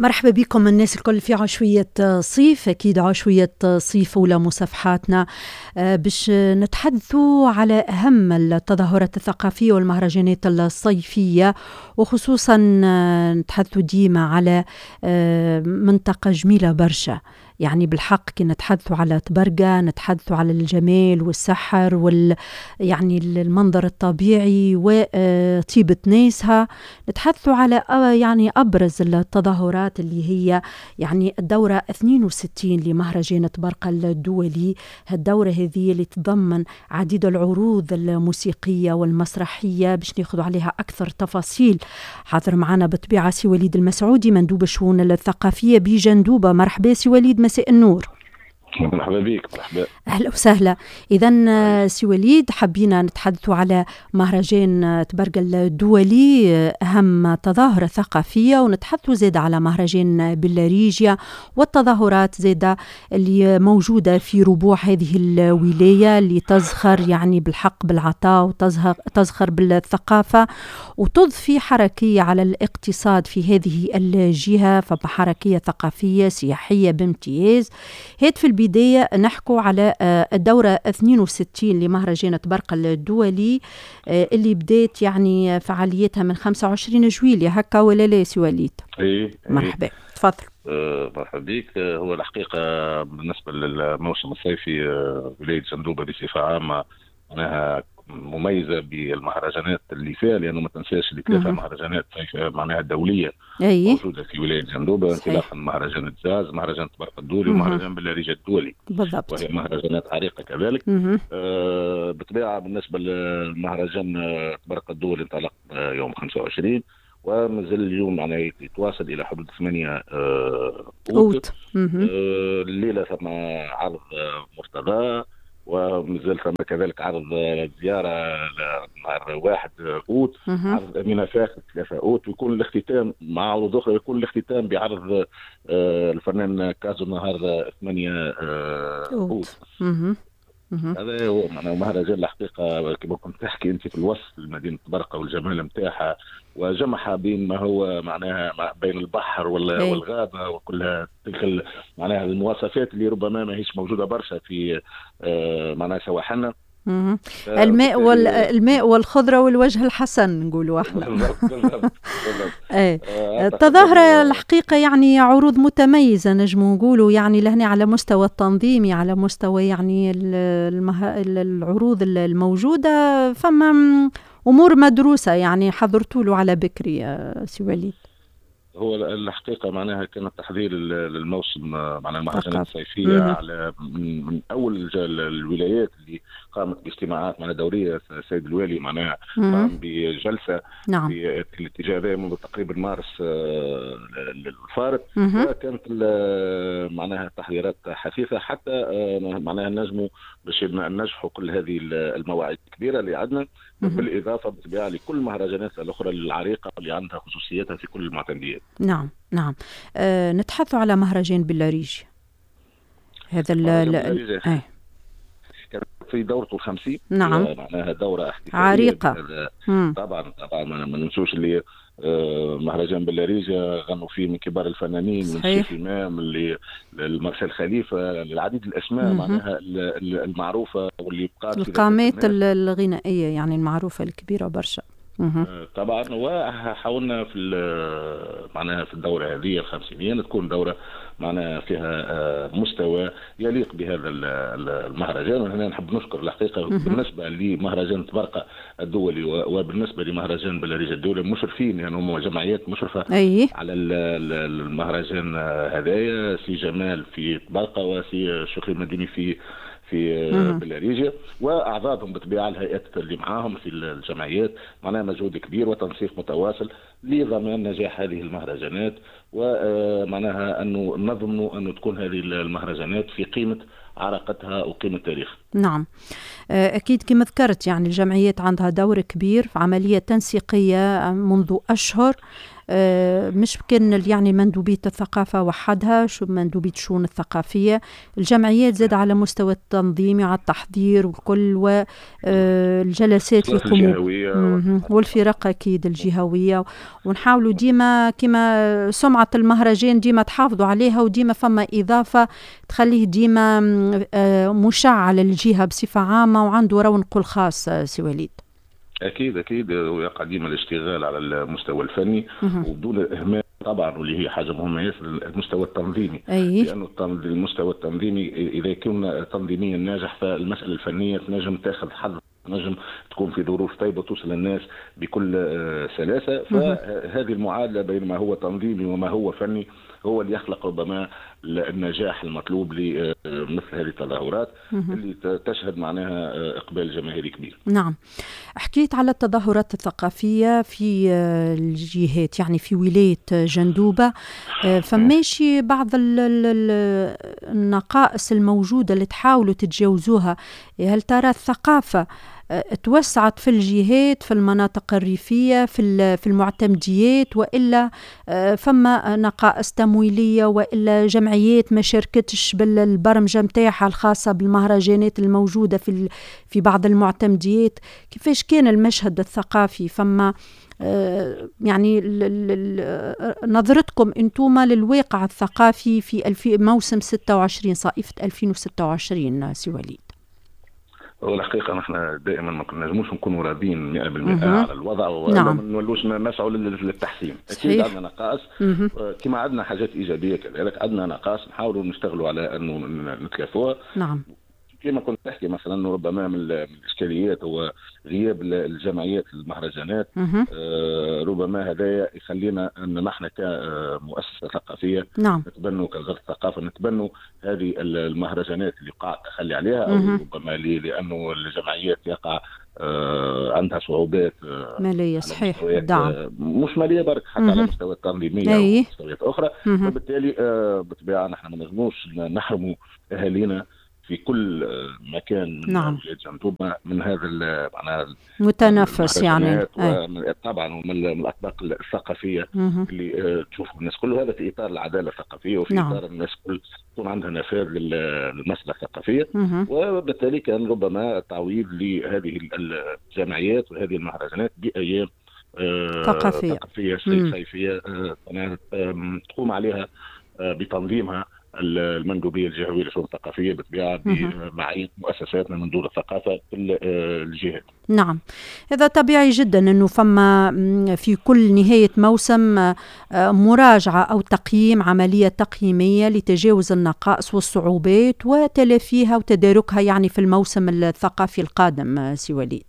مرحبا بكم الناس الكل في عشوية صيف، أكيد عشوية صيف أولى مصافحاتنا باش نتحدثوا على أهم التظاهرات الثقافية والمهرجانات الصيفية، وخصوصا نتحدثوا ديما على منطقة جميلة برشا. يعني بالحق كي نتحدثوا على طبرقة نتحدثوا على الجمال والسحر يعني المنظر الطبيعي وطيبة ناسها. نتحدثوا على يعني أبرز التظاهرات اللي هي يعني الدورة 62 لمهرجان طبرقة الدولي. الدورة هذه اللي تتضمن عديد العروض الموسيقية والمسرحية باش ناخذ عليها أكثر تفاصيل. حاضر معنا بالطبيعة سي وليد المسعودي مندوب الشؤون الثقافية بجندوبة. مرحبا سي وليد، مساء النور. مرحبا بك. مرحبا، اهلا وسهلا. اذا سي وليد، حبينا نتحدثوا على مهرجان طبرقة الدولي، اهم تظاهرة ثقافيه، ونتحدثوا زاد على مهرجان بلاريجيا والتظاهرات زاد اللي موجودة في ربوع هذه الولاية اللي تزخر يعني بالحق بالعطاء وتزخر بالثقافة وتضفي حركية على الاقتصاد في هذه الجهه، فبحركيه ثقافية سياحية بامتياز. هات في البداية نحكوا على الدورة 62 لمهرجان طبرقة الدولي اللي بدات يعني فعاليتها من 25 جويلية، هكا ولا لا سي وليد؟ ايه. مرحبا، تفضل. مرحبا بك. هو الحقيقة بالنسبة للموسم الصيفي، ولاية جندوبة بصفة عامة معناها مميزة بالمهرجانات اللي فيها، لأنه ما تنساش اللي ثلاثة مهرجانات معناها دولية موجودة في ولاية جندوبة، انطلاقا من مهرجان الجاز، مهرجان طبرقة الدولي، ومهرجان بلاريجيا الدولي. وهي مهرجانات عريقة كذلك. بالطبيعة بالنسبة للمهرجان طبرقة الدولي انطلق يوم 25 ومازال اليوم معناها يتواصل الى حدود 8 اوت. الليلة ثم عرض مرتضى، ومازال ثم كذلك عرض زيارة نهار 1 اوت، عرض امينه فاخر 3 اوت، ويكون الاختتام مع عروض اخرى، يكون الاختتام بعرض الفنان كازو نهار 8 اوت. هذا هو معناها مهرجان الحقيقة كما كنت تحكي انت في الوصف لمدينة طبرقه والجمال نتاعها، وجمعها بين ما هو معناها بين البحر والغابه وكلها تلك معناها المواصفات اللي ربما ما هيش موجودة برشا في معناها سواحلنا. الماء الماء والخضرة والوجه الحسن نقولوا احنا. بالضبط. ايه، التظاهرة الحقيقة يعني عروض متميزة نجم نقولوا، يعني لهنا على مستوى التنظيمي، على مستوى يعني العروض الموجودة، فما أمور مدروسة يعني حضرتوا له على بكري سي وليد. هو الحقيقة معناها كان التحضير للموسم معناها المهرجانات الصيفية على من اول الولايات اللي قامت باجتماعات معناها دوريه. السيد الوالي معناها قام بجلسة في الاتجاه هذا منذ تقريبا مارس الفارط، وكانت معناها التحضيرات حثيثه حتى معناها نجموا باش ننجحوا كل هذه المواعيد الكبيرة اللي عندنا، بالاضافة بالطبيعة لكل المهرجانات الاخرى العريقه اللي عندها خصوصيتها في كل المعتمديات. نعم. نتحدث على مهرجان بلاريجيا هذا ال في دورته 50. معناها دورة احتفالية عريقة. طبعا طبعا، ما ننسوش اللي مهرجان بلاريجيا غنوا فيه من كبار الفنانين، من الشيخ إمام لمارسيل خليفة، العديد الأسماء معناها المعروفة واللي بقات القامات الغنائية يعني المعروفة الكبيرة برشا. طبعا، وحاولنا في معناها في الدورة هذه الخمسينيه تكون دوره معناها فيها مستوى يليق بهذا المهرجان. وهنا نحب نشكر الحقيقة بالنسبة لمهرجان طبرقه الدولي وبالنسبة لمهرجان بلاريجيا الدولي المشرفين، يعني هم جمعيات مشرفة على المهرجان هذايا، سي جمال في طبرقه وسي شكري المديني في بلاريجيا، واعضائهم بالطبيعة الهيئات اللي معاهم في الجمعيات، معناها مجهود كبير وتنسيق متواصل لضمان نجاح هذه المهرجانات، ومعناها انه نضمن انه تكون هذه المهرجانات في قيمة عراقتها وقيمه تاريخها. نعم، أكيد كما ذكرت يعني الجمعيات عندها دور كبير في عملية تنسيقية منذ أشهر. مش كان يعني مندوبية الثقافة وحدها، شو مندوبية الشؤون الثقافية، الجمعيات زاد على مستوى التنظيم وعلى التحضير والكل، والجلسات اللي يقوموا والفرق أكيد الجهوية، ونحاولوا ديما كما سمعة المهرجان ديما تحافظوا عليها، وديما فما إضافة تخليه ديما مشع للجهة بصفة عامة وعنده رونقه الخاص. سي وليد. أكيد أكيد، ويقع ديما الاشتغال على المستوى الفني وبدون الإهمال طبعا، واللي هي حاجة مهمة ياسر، المستوى التنظيمي. لانه المستوى التنظيمي اذا كنا تنظيميا ناجح فالمسالة الفنية تنجم تاخذ حظ، تنجم تكون في ظروف طيبة توصل للناس بكل سلاسة. فهذه المعادلة بين ما هو تنظيمي وما هو فني هو اللي يخلق ربما النجاح المطلوب لمثل هذه التظاهرات اللي تشهد معناها اقبال جماهيري كبير. نعم، حكيت على التظاهرات الثقافية في الجهات، يعني في ولاية جندوبة، فماشي بعض النقائص الموجودة اللي تحاولوا تتجاوزوها. هل ترى الثقافة توسعت في الجهات، في المناطق الريفية، في المعتمديات، وإلا فما نقائص تمويلية، وإلا جمعيات ما شاركتش بالبرمجة متاعها الخاصة بالمهرجانات الموجودة في بعض المعتمديات؟ كيفاش كان المشهد الثقافي؟ فما يعني نظرتكم انتوما للواقع الثقافي في موسم 26 صائفة 2026 سي وليد؟ هو الحقيقة نحن دائما ما نجموش نكونوا راضيين 100% على الوضع، وما نولوش نسعوا للتحسين. اكيد عندنا نقائص كما عندنا حاجات ايجابية، كذلك عندنا نقائص نحاولوا نشتغلوا على انه نتلافوها. نعم. كما كنت تحكي مثلا ربما من الاشكاليات هو غياب الجمعيات المهرجانات. ربما هذا يخلينا ان نحن كمؤسسة ثقافية نتبنوا كوزارة الثقافة نتبنوا هذه المهرجانات اللي قاع التخلي عليها، او ربما لانه الجمعيات يقع عندها صعوبات ماليه. صحيح، دعم مش ماليه برك، حتى على مستوى التنظيمية ومستويات اخرى. وبالتالي بالطبيعة نحن ما نجموش نحرموا اهالينا في كل مكان من ولاية جندوبة من هذا معناها متنفس يعني. طبعا، ومن الاطباق الثقافية اللي تشوفوا الناس كل، هذا في اطار العدالة الثقافية وفي اطار الناس كل تكون عندها نفاذ للمسالة الثقافية. وبالتالي كان ربما تعويض لهذه الجمعيات وهذه المهرجانات بايام ثقافية صيفية تقوم عليها بتنظيمها المندوبيه الجهوية للشؤون الثقافية بالطبيعة بمعية مؤسساتنا من دور الثقافة في الجهات. نعم، هذا طبيعي جدا انه فما في كل نهاية موسم مراجعه او تقييم، عملية تقييميه لتجاوز النقائص والصعوبات وتلافيها وتداركها يعني في الموسم الثقافي القادم. سي وليد.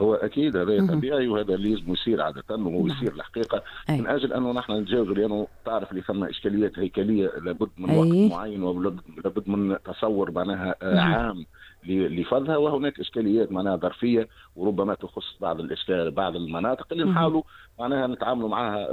هو اكيد هذا طبيعي، وهذا اللي لازم يصير عادة، وهو يصير الحقيقة من اجل انه نحن نتجاوز، لانه تعرف اللي ثم اشكاليات هيكلية لابد من وقت معين ولابد من تصور معناها عام لفضها، وهناك اشكاليات معناها ظرفيه وربما تخص بعض الاشكال بعض المناطق اللي نحاولوا معناها نتعاملوا معها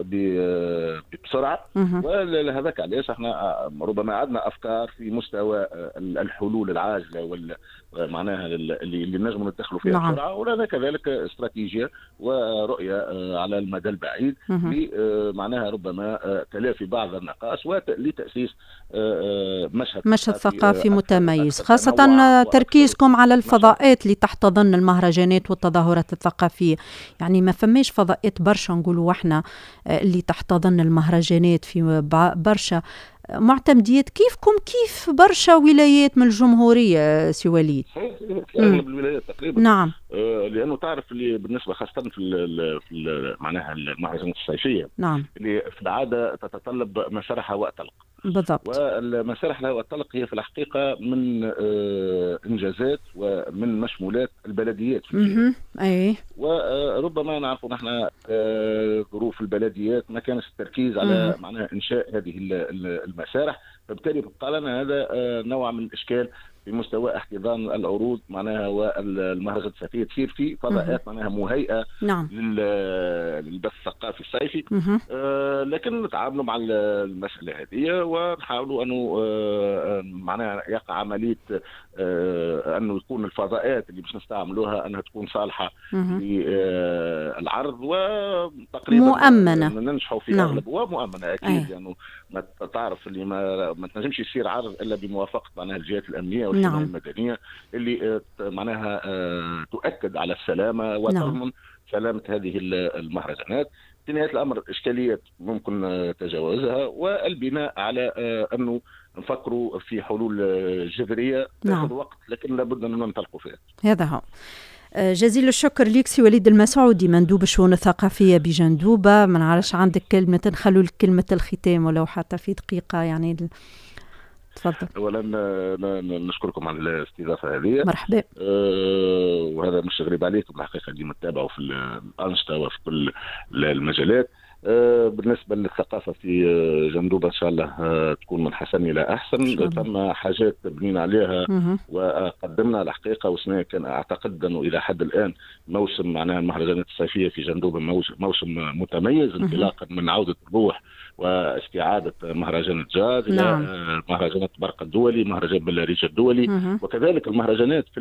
بسرعة. ولهذاك علاش احنا ربما عندنا افكار في مستوى الحلول العاجلة وال معناها اللي نجموا ندخلوا فيها بسرعة، ولنا كذلك استراتيجية ورؤية على المدى البعيد معناها ربما تلافي بعض النقائص ولتاسيس مشهد ثقافي متميز، خاصة تركيزكم على الفضاءات اللي تحتضن المهرجانات والتظاهرات الثقافية. يعني ما فماش فضاءات برشا نقولوا احنا اللي تحتضن المهرجانات في برشا معتمديات كيفكم كيف برشا ولايات من الجمهورية سي وليد. في اغلب الولايات تقريبا. نعم. لانه تعرف اللي بالنسبة خاصة في معناها المهرجانات الصيفية. نعم. اللي في العادة تتطلب مسارح هواء طلق. بالضبط. والمسارح الهواء الطلق هي في الحقيقة من انجازات ومن مشمولات البلديات في الجهة. اي. وربما نعرف نحن ظروف البلديات ما كانش التركيز على معناها انشاء هذه المسارح، فبالتالي بقى لنا هذا نوع من الاشكال في مستوى احتضان العروض معناها والمهرجانات الصيفية تصير في فضاءات معناها مهيئة للبث الثقافي الصيفي. لكن نتعاملوا مع المسالة هذه ونحاولوا انه معناها يقع عملية انه يكون الفضاءات اللي باش نستعملوها انها تكون صالحه للعرض وتقريبا مؤمنة، ننجحوا في اغلب ومؤمنة اكيد. لانه يعني ما تعرف اللي ما تنجمش يصير عرض الا بموافقة معناها الجهات الامنية والحماية المدنية اللي معناها تؤكد على السلامة وتضمن سلامه هذه المهرجانات. في نهاية الامر اشكاليات ممكن تجاوزها، والبناء على انه نفكروا في حلول جذرية تاخذ وقت، لكن لابد ان ننطلقوا فيها. هذا هو. جزيل الشكر ليك سي وليد المسعودي، مندوب الشؤون الثقافية بجندوبة. ما نعرفش عندك كلمة، نخلوا لك كلمة الختام ولو حتى في دقيقة يعني. تفضل. اولا نشكركم على الاستضافة هذه. مرحبا. وهذا مش غريب عليكم الحقيقة، ديما تتابعوا في الانشطة وفي كل المجالات. بالنسبة للثقافة في جندوبة إن شاء الله تكون من حسن إلى أحسن. ثم حاجات بنينا عليها وقدمنا الحقيقة، وسنة كان أعتقد أنه إلى حد الآن موسم معناها المهرجانات الصيفية في جندوبة موسم متميز، انطلاقا من عودة الروح واستعادة مهرجان الجاز إلى مهرجانات برقة الدولي، مهرجان بلاريجا الدولي، وكذلك المهرجانات في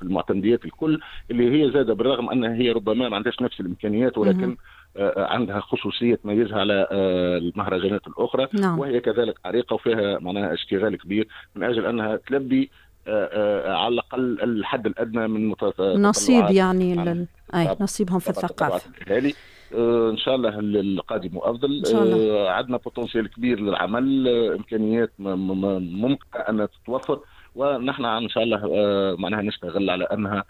المعتمديات الكل اللي هي زادة بالرغم أنها هي ربما ما عندهاش نفس الإمكانيات، ولكن عندها خصوصية تميزها على المهرجانات الأخرى. وهي كذلك عريقة وفيها معناها اشتغال كبير من أجل أنها تلبي على الأقل الحد الأدنى من نصيب يعني نصيبهم في الثقافة. إن شاء الله القادم أفضل. إن شاء الله. عندنا بوتنسيال كبير للعمل، إمكانيات ممكن أن تتوفر، ونحن ان شاء الله معناها نشتغل على انها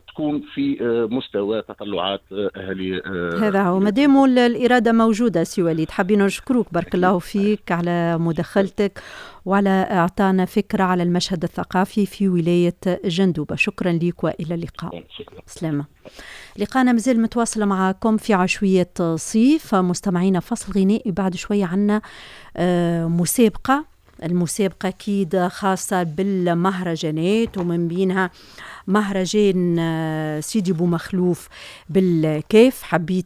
تكون في مستوى تطلعات اهالي. هذا هو، مادام الارادة موجودة. سي وليد، حابين نشكروك، بارك الله فيك على مداخلتك وعلى اعطانا فكرة على المشهد الثقافي في ولاية جندوبه. شكرا لك والى اللقاء. شكرا. سلامه. لقانا مازال متواصل معكم في عشويه صيف مستمعينا، فصل غنائي بعد شوية عنا مسابقة. المسابقة أكيد خاصة بالمهرجانات، ومن بينها مهرجان سيدي بو مخلوف بالكيف. حبيت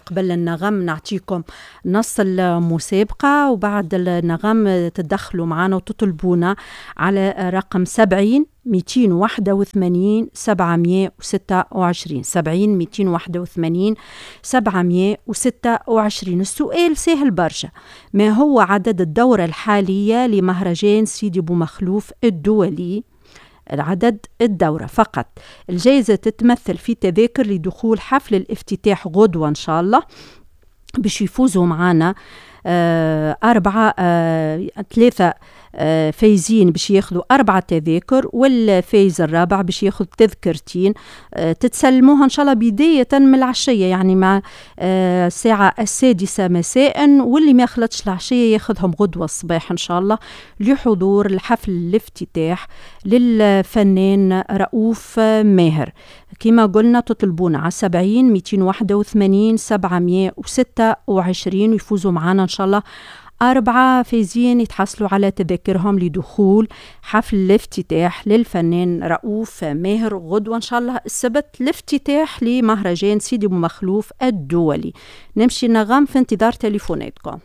قبل النغم نعطيكم نص المسابقة، وبعد النغم تدخلوا معنا وتطلبونا على رقم 70 281 726، 70 281 726. السؤال سهل برشا، ما هو عدد الدورة الحالية لمهرجان سيدي بو مخلوف الدولي؟ العدد الدورة فقط. الجائزة تتمثل في تذاكر لدخول حفل الافتتاح غدوة إن شاء الله، باش يفوزوا معنا 3 فايزين باش ياخذوا 4 تذاكر، والفايز الرابع باش ياخذ تذكرتين تتسلموها ان شاء الله بداية من العشية، يعني مع الساعة 6 مساء، واللي ما يخلطش العشية ياخذهم غدوة الصباح ان شاء الله لحضور الحفل الافتتاح للفنان رؤوف ماهر. كما قلنا تطلبونا على 70 281 726 ويفوزوا معنا إن شاء الله 4 فايزين يتحصلوا على تذاكرهم لدخول حفل الافتتاح للفنان رؤوف ماهر غدوة إن شاء الله السبت، الافتتاح لمهرجان سيدي بو مخلوف الدولي. نمشي نغم في انتظار تليفوناتكم.